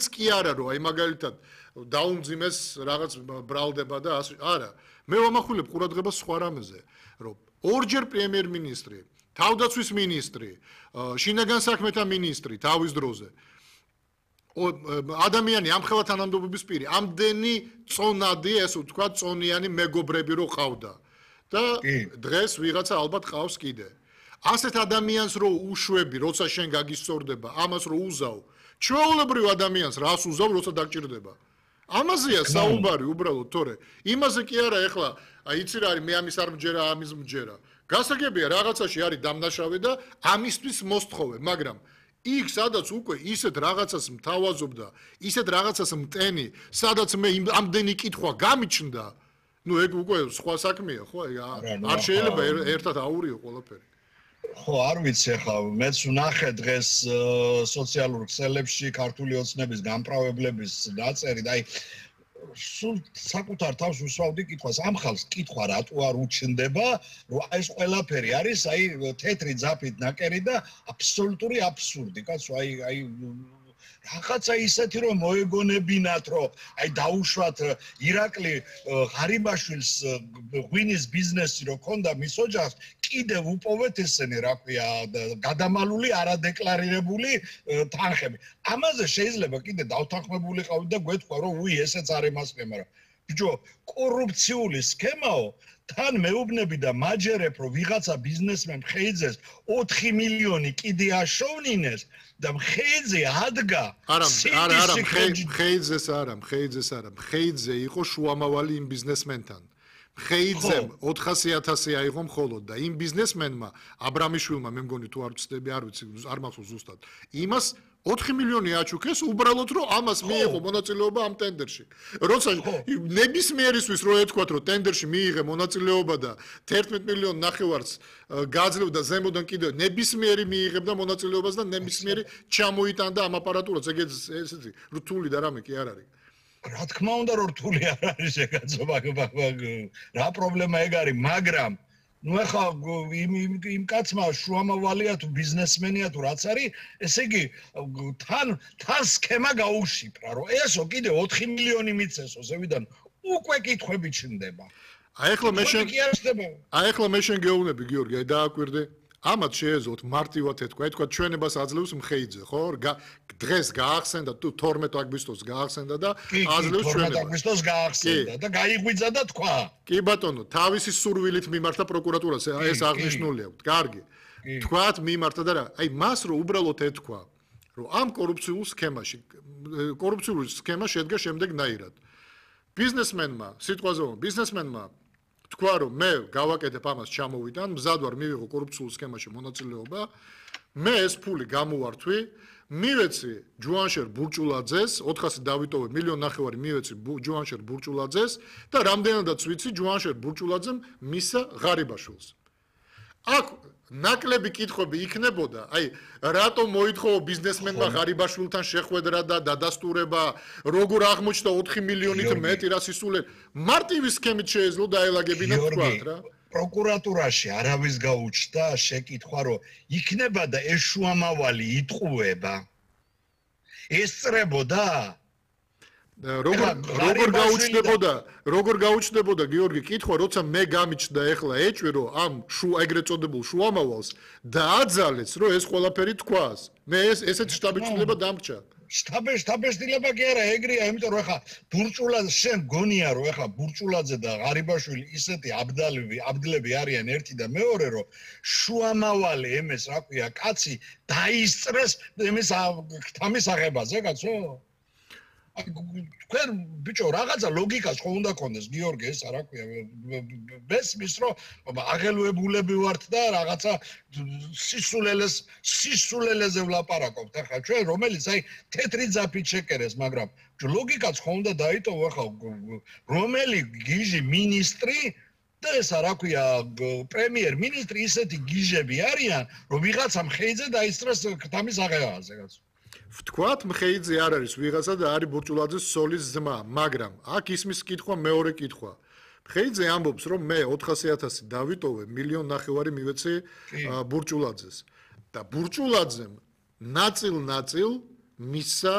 მაინც კი არა რომ აი მაგალითად დაუმძიმეს რაღაც ბრალდება და არა მე ვამახვილებ ყურადღებას სხვა რამეზე რომ ორჯერ პრემიერ-მინისტრი თავდაცვის მინისტრი შინაგან საქმეთა მინისტრი თავის დროზე ადამიანი ამხელა თანამდებობის პირი ამდენი წონადი ესე ვთქვა წონიანი მეგობრები რო ყავდა და დღეს ვიღაცა ალბათ ყავს კიდე ასეთ ადამიანს რო უშვები როცა შენ გაგისწორდება ამას რო უზავ ჩვეულებრივ ადამიანს რას უზავ როცა დაგჭირდება ამაზეა საუბარი უბრალოდ თორე იმაზე კი არა ეხლა აი იცი რა არის მე ამის არ მჯერა ამის მჯერა გასაგებია რაღაცაში არის დამნაშავე და ამისთვის მოსთხოვე მაგრამ იქ სადაც უკვე ისეთ რაღაცას მთავაზობდა ისეთ რაღაცას მტენი სადაც მე ამდენი კითხვა გამიჩნდა ნუ ეგ უკვე სხვა საქმეა ხო არ შეიძლება ერთად აურიო ყველაფერი ხო არ ვიცი ახლა მეც ვნახე დღეს სოციალურ ქსელებში ქართული ოცნების გამправებლების ნაწერი და აი სულ საკუთარ თავს უსვავდი კითხვას ამ ხალხს კითხვა რატო არ უჩნდება რომ აი ეს ყველაფერი არის აი თეთრი ძაფით ნაკერი და აბსოლუტური აბსურდი კაცო აი რაღაცა ისეთი რომ მოეგონებინათ რომ აი დაუშვათ ირაკლი ღარიბაშვილს ღვინის ბიზნესი რო ქონდა მის ოჯახს კიდევ უპოვეთ ესენი რა ქვია გადამალული არადეკლარირებული თანხები ამაზე შეიძლება კიდე დავთანხმებული ყავით და გვეთქვა რომ უი ესეც არ ემასწრე მაგრამ ბიჭო კორუფციული სქემაო თან მეუბნები და მაჯერებ რომ ვიღაცა ბიზნესმენ ხეიძეს 4 მილიონი კიდე აშოვნინეს და ხეიძე ადგა არა ხეიძე იყო შუამავალი იმ ბიზნესმენთან ხეიძემ 400,000 აიღო მხოლოდ და იმ ბიზნესმენმა აბრამიშვილმა მე მგონი თუ არ ვწდები არ ვიცი არ მახსოვს ზუსტად იმას 4 მილიონი აჩუქეს უბრალოდ რომ ამას მიიღო მონაწილეობა ამ ტენდერში როცა ნებისმიერისთვის რო ეთქვათ რომ ტენდერში მიიღე მონაწილეობა და 11 მილიონი ნახევარს გაძლევდა ზემოდან კიდევ ნებისმიერი მიიღებდა მონაწილეობას და ნებისმიერი ჩამოიტანდა ამ აპარატურას ესეთი რთული და რამე კი არ არის რა თქმა უნდა რომ რთული არ არის ეგაცო რა პრობლემა ეგ არის მაგრამ ნუ ახლა იმ კაცმა შუამავალია თუ ბიზნესმენია თუ რაც არის ესე იგი თან სქემა გაუშიფრა რომ ესო კიდე 4 მილიონი მიცესო ზევიდან უკვე კითხვები ჩნდება აი ახლა მე შენ გეუბნები გიორგი აი დააკვირდე ამათ შეეძლოთ მარტივად ეთქვა ჩვენებას აძლევს მხეიძე ხო დღეს გაახსენდა თუ 12 აგვისტოს გაახსენდა და აძლევს ჩვენებას 12 აგვისტოს გაახსენდა და გაიღვიძა და თქვა კი ბატონო თავისი სურვილით მიმართა პროკურატურას ეს აღნიშნული აქვს კარგი თქვათ მიმართა და რა აი მას რო უბრალოდ ეთქვა რომ ამ კორუფციულ სქემა შედგა შემდეგნაირად ბიზნესმენმა ბიზნესმენმა თქვა რომ მე გავაკეთებ ამას ჩამოვიდან მზად ვარ მივიღო კორუფციულ სქემაში მონაწილეობა მე ეს ფული გამოვართვი მივეცი ჯუანშერ ბურჭულაძეს 400 დავიტოვე 1.5 მილიონი მივეცი ჯუანშერ ბურჭულაძეს და რამდენადაც ვიცი ჯუანშერ ბურჭულაძემ მისა ღარიბაშვილს აქ ნაკლები კითხვები იქნებოდა აი რატომ მოითხოვა ბიზნესმენმა ღარიბაშვილთან შეხვედრა და დადასტურება როგორ აღმოჩნდა 4 მილიონით მეტი რას ისულენ მარტივი სქემით შეეძლო დაელაგებინა თქვათ რა პროკურატურაში არავის გაუჩნდა შეკითხვა რომ იქნება და ეს შუამავალი იტყუება ესწრებოდა როგორ გაუჩნდებოდა გიორგი კითხვა როცა მე გამიჩნდა ეხლა ეჭვი რომ ამ ეგრეთ წოდებულ შუამავალს დააძალეს რომ ეს ყველაფერი თქვას მე ესეთ შტაბეჭდილება დამრჩა შტაბეჭდილება კი არა ეგრეა იმიტომ რომ ეხლა ბურჭულაძე შენ გონია რომ ეხლა ბურჭულაძე და ღარიბაშვილი ისეთი აბდლები არიან ერთი და მეორე რომ შუამავალი ემეს რა ქვია კაცი დაისწრეს ემეს თამის აღებაზე კაცო თქვენ ბიჭო რაღაცა ლოგიკას ხო უნდა გქონდეს გიორგი ეს რა ქვია ბესმის რომ აღელვებულები ვართ და რაღაცა სისულელეზე ვლაპარაკობთ ახლა ჩვენ რომელიც აი თეთრი ძაფით შეკერეს მაგრამ ლოგიკაც ხო უნდა დაიტოვო ახლა რომელი გიჟი მინისტრი და ესა რა ქვია პრემიერ-მინისტრი ისეთი გიჟები არიან რომ ვიღაცამ ხეიძე დაისწრეს თამის აღებაზე კაცო ვთქვათ მხეიძე არ არის ვიღაცა და არის ბურჭულაძის სოლის ძმა მაგრამ აქ ისმის კითხვა მეორე კითხვა მხეიძე ამბობს რომ მე 400,000 დავიტოვე 1.5 მილიონი მივეცე ბურჭულაძეს და ბურჭულაძემ ნაწილ მისცა